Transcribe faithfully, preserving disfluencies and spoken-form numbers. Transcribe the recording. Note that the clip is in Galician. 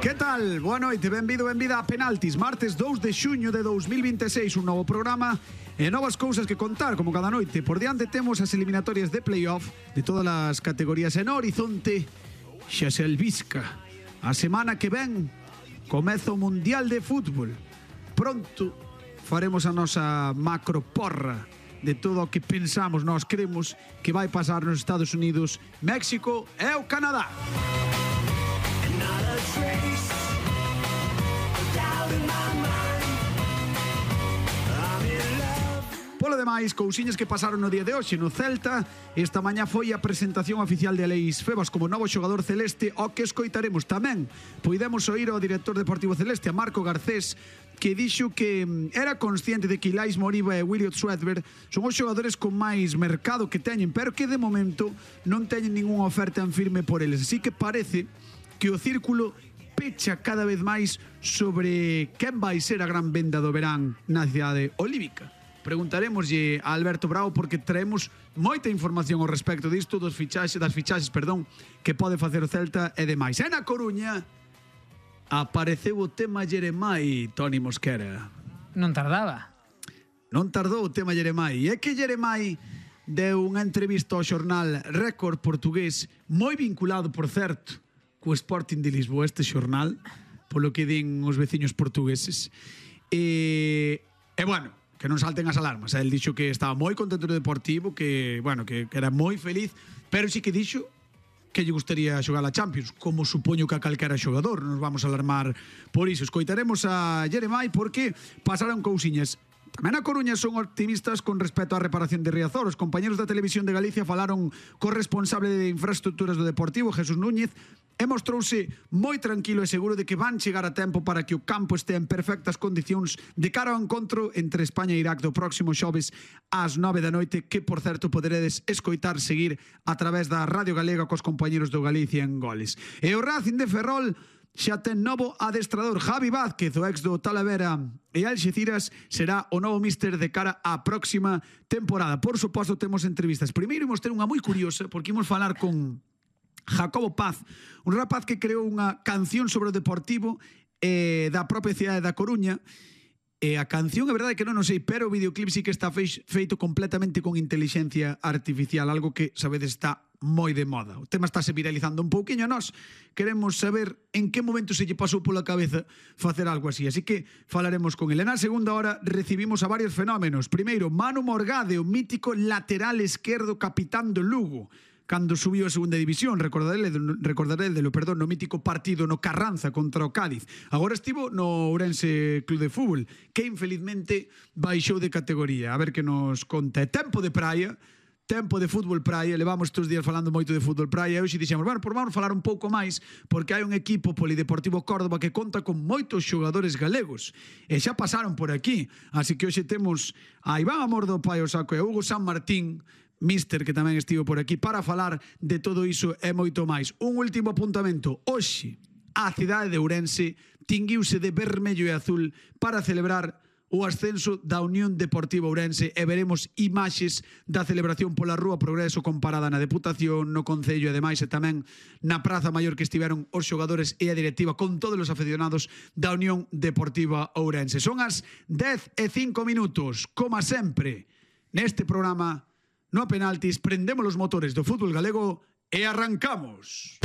Que tal? Boa noite, benvido, benvida a Penaltis. Martes dous de xuño de dous mil vinte e seis, un novo programa e novas cousas que contar, como cada noite. Por diante temos as eliminatorias de playoff de todas as categorías en horizonte. Xa se albisca. A semana que ven comeza o Mundial de Fútbol. Pronto faremos a nosa macro porra de todo o que pensamos, nós cremos que vai pasar nos Estados Unidos, México e o Canadá. Polo demais, cousiñas que pasaron no día de hoxe no Celta. Esta mañá foi a presentación oficial de Aleix Febas como novo xogador celeste, ao que escoitaremos tamén. Poidemos oír ao director deportivo celeste, a Marco Garcés, que dixo que era consciente de que Ilais Moriba e Williot Swedberg son os xogadores con máis mercado que teñen, pero que de momento non teñen ninguna oferta en firme por eles. Así que parece que o círculo pecha cada vez máis sobre quen vai ser a gran venda do verán na cidade olívica. Preguntaremoslle a Alberto Bravo porque traemos moita información ao respecto disto, dos fichaxes, das fichaxes, perdón, que pode facer o Celta e demais. E na Coruña apareceu o tema Jeremai, Toni Mosquera. Non tardaba. Non tardou o tema Jeremai. E é que Jeremai deu unha entrevista ao xornal Récord portugués, moi vinculado, por certo, co Sporting de Lisboa, este xornal, polo que din os veciños portugueses. E, e bueno, que non salten as alarmas. El dixo que estaba moi contento no Deportivo, que, bueno, que, que era moi feliz, pero sí que dixo que lle gustaría xogar a Champions, como supoño que a calquera xogador. Non nos vamos a alarmar por iso. Escoitaremos a Jeremai porque pasaron cousiñas. Tamén a Coruña son optimistas con respecto á reparación de Riazor. Os compañeros da Televisión de Galicia falaron co responsable de infraestructuras do Deportivo, Jesús Núñez, e mostrouse moi tranquilo e seguro de que van chegar a tempo para que o campo este en perfectas condicións de cara ao encontro entre España e Irak do próximo xoves ás nove da noite, que, por certo, poderedes escoitar seguir a través da Radio Galega cos compañeros do Galicia en Goles. E o Racing de Ferrol xa ten novo adestrador. Javi Vázquez, o ex do Talavera e Alxeciras, será o novo míster de cara á próxima temporada. Por suposto, temos entrevistas. Primeiro imos ter unha moi curiosa, porque imos falar con Jacobo Paz, un rapaz que creou unha canción sobre o Deportivo eh, da propia cidade da Coruña. E a canción, é verdade que non o sei, pero o videoclip sí que está feito completamente con inteligencia artificial, algo que, sabedes, está moi de moda. O tema está se viralizando un pouquiño. Nós queremos saber en que momento se lle pasou pola cabeza facer algo así, así que falaremos con ele. Na segunda hora recibimos a varios fenómenos. Primeiro, Manu Morgade, o mítico lateral esquerdo capitán do Lugo, cando subiu a segunda división, recordarele, recordarele lo, perdón, no mítico partido no Carranza contra o Cádiz. Agora estivo no Ourense Club de Fútbol, que infelizmente baixou de categoría. A ver que nos conta. É tempo de praia, tempo de fútbol praia. Levamos estes días falando moito de fútbol praia e hoxe dixemos, bueno, por vamos falar un pouco máis, porque hai un equipo Polideportivo Córdoba que conta con moitos xogadores galegos e xa pasaron por aquí, así que hoxe temos a Iván Amor do Pai o Saco e a Hugo San Martín, míster, que tamén estivo por aquí, para falar de todo iso e moito máis. Un último apuntamento. Hoxe, a cidade de Ourense tinguiuse de vermello e azul para celebrar o ascenso da Unión Deportiva Ourense e veremos imaxes da celebración pola Rúa Progreso comparada na Deputación, no Concello e demais, e tamén na Praza Maior que estiveron os xogadores e a directiva con todos os aficionados da Unión Deportiva Ourense. Son as dez e cinco minutos. Como sempre, neste programa, no Penaltis, prendemos os motores do fútbol galego e arrancamos.